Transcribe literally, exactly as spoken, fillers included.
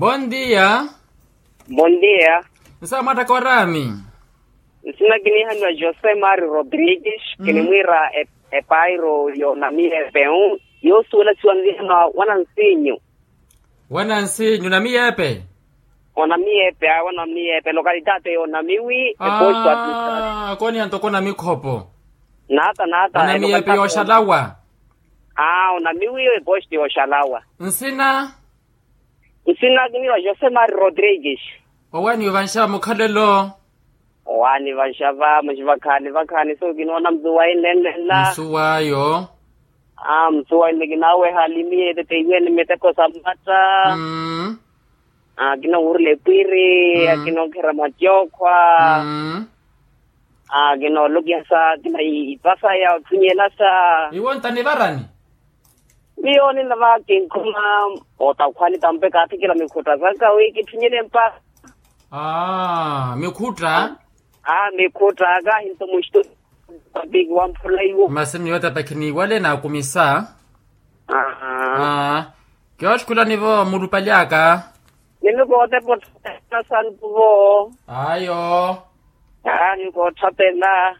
Bondia. Bondia. Nsa mwattaka orami? Nsina kiniihaniwa jose mari rodrigues. Kinimwiira epairo y'onamiyepe. Yoosuwela siwa nvihaniwa wanansinyu. Wanansinyu namiyepe? Onamiyepe awe onamiyepe lokalitaate y'onamiwi eposto. Akooniya ntoko onamikhopo. Naata naata onamiyepe y'oxalawa. Aa onamiwi eposto y'oxalawa. Nsina? Nsina kiniwa jose mari rodrigues. Owaaniwe vanxava mukhalelo? Owaani vanxava muxivakhaani vakhaani so kinoona msuwayi nnenlenla. Nsuwayo? Aa msuwayi nnikinaweha alimiye eteteiwene miteko sa mmatta. Aa kinowurula epwiri akinonkherya mwatyookhwa. Aa kinoolukihasa kina ipasa ya otthunyelasa. Iwo ntanivarani? Miyo ninava kinkhuma otakhwani tampe kaathikela mikhutta sanka wi kitthunyele mpasa. Aa mikhutta. Aa mikhutta kahinto mustu. Papiki wamphula iwo masi miyo tata khiniiwale naakumisa. Aa kioxkhulani-vo mulupali aka. Nimikootepa otthapeela santu-vo. Ayo. Aa nikootthapeela.